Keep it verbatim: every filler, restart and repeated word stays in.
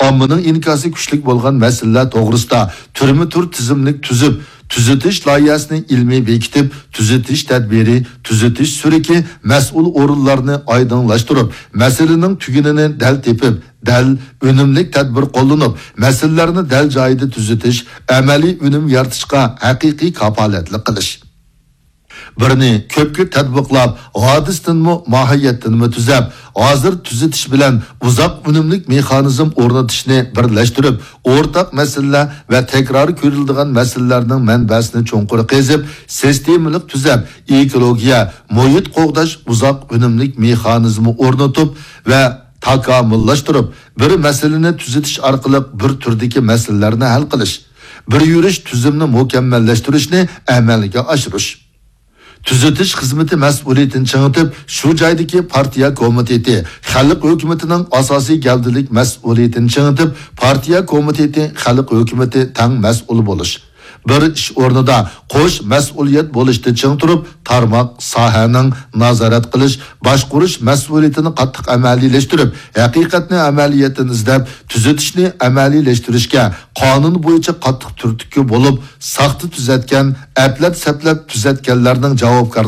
ئاممىنىڭ ئىنكاسى كۈچلۈك بولغان مەسىلىلەر توغرىسىدا تۈرمە تۈر تىزىملىك تۈزۈپ، تۈزىتىش لايىھەسىنى ئىلمىي بېكىتىپ، تۈزىتىش تەدبىرى، تۈزىتىش سۈرۈكى، مەسئۇل ئورۇنلارنى ئايدىڭلاشتۇرۇپ، مەسىلىنىڭ تۈگۈنىنى دەل تېپىپ، دەل، ئۈنۈملۈك تەدبىر قوللىنىپ، مەسىلىلەرنى دەل جايىدا تۈزىتىش، ئەمەلىي ئۈنۈم يارىتىشقا ھەقىقىي كاپالەتلىك قىلىش. بىرنى كۆپكە تەتبىقلاپ، ھادىسىدىنمۇ، ماھىيەتتىنمۇ تۈزەپ، ھازىر تۈزىتىش بىلەن ئۇزاق ئۈنۈملۈك مېخانىزم ئورنىتىشنى بىرلەشتۈرۈپ، ئورتاق مەسىلىلەر ۋە تەكرار كۆرۈلىدىغان مەسىلىلەرنىڭ مەنبەسىنى چوڭقۇر قېزىپ، سىستېمىلىق تۈزەپ، ئېكولوگىيە، مۇھىت قوغداش، ئۇزاق ئۈنۈملۈك مېخانىزمى ئورنىتىپ ۋە تاكامۇللاشتۇرۇپ، بىر مەسىلىنى تۈزىتىش ئارقىلىق بىر تۈردىكى مەسىلىلەرنى ھەل قىلىش، بىر يۈرۈش تۈزۈمنى مۇكەممەللەشتۈرۈشنى ئەمەلگە ئاشۇرۇش. تۈزىتىش خىزمىتى مەسئۇلىيىتىنى چىڭىتىپ، شۇ جايدىكى پارتىيە كومىتېتى، خەلق ھۆكۈمىتىنىڭ ئاساسىي گەۋدىلىك مەسئۇلىيىتىنى چىڭىتىپ، پارتىيە كومىتېتى، خەلق ھۆكۈمىتى تەڭ مەسئۇل بولۇش. بىر ئىش ئورنىدا قوش مەسئۇلىيەت بولۇشتا چىڭ تۇرۇپ، تارماق، ساھەنىڭ نازارەت قىلىش، باشقۇرۇش مەسئۇلىيىتىنى قاتتىق ئەمەلىيلەشتۈرۈپ، ھەقىقەتنى ئەمەلىيەتتىن ئىزدەپ، تۈزىتىشنى ئەمەلىيلەشتۈرۈشكە قانۇن بويىچە قاتتىق تۈرتكە بولۇپ، ساختا تۈزەتكەن، ئەپلەپ-سەپلەپ تۈزەتكەنلەرنىڭ جاۋابكار